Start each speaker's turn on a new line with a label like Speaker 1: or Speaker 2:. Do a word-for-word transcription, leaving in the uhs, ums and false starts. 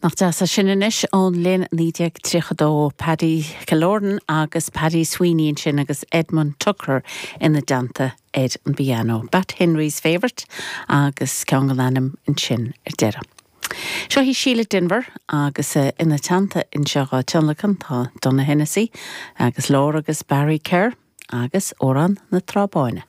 Speaker 1: Nach deas é sin anois ón mbliain naoi déag tríocha dó Paddy Killoran agus Paddy Sweeney ansin agus Edmund Tucker ina dteannta ar an bpianó. Bat Henry's Favourite agus ceann den ainm ansin ar deireadh. Seo í Síle Denvir agus eh, ina teannta anseo á tionlacan tá Donogh Hennessy agus Laura agus Barry Kerr agus Amhrán na Trá Báine.